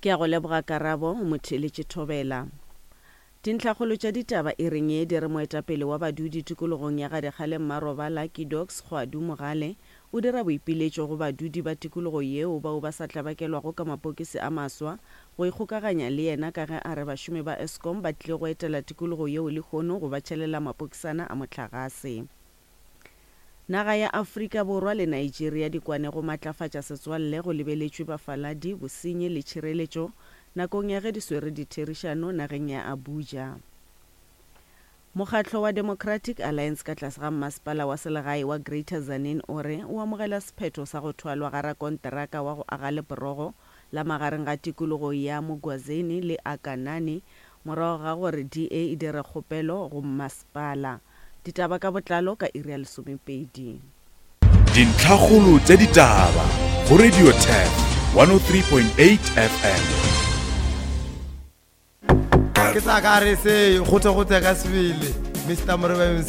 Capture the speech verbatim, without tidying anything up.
Ke a go leboga Karabo, o mo theeletše Thobela. Dintlhakgolo tša ditaba e reng ye di re moetapele wa badudi tikologong ya Gadikgale Mmarobala Kidox Kgwadu Mogale o dira boipiletšo go badudi ba tikologo yeo bao ba sa tlabakelwago ka mapokisi a maswa go ikgokaganya le yena ka ge a re bašomi ba Eskom ba tlile go etela tikologo yeo lehono go ba tšhelela mapokisana a mohlagase. Naga ya Afrika Borwa le Nigeria di kwane go matlafatša setswalle go lebeletšwe bafaladi, bosenyi le tšhireletšo nakong ya ge di swere ditherišano nageng ya Abuja. Mokgatlo wa Democratic Alliance ka tlase ga mmasepala wa selegae wa Greater Tzaneen o re o amogela sephetho sa go thwalwa ga rakonteraka wa go aga leporogo la magareng ga tikologo ya Mugwazeni le Akanani morago ga gore D A e dire kgopelo go mmasepala. Ditaba ka botlalo ka iri ya lesomepedi. Dintlhakgolo tša ditaba go Radio Turf one oh three point eight F M. Ke tla ka re se gote gote ka sebele Mister Moreba M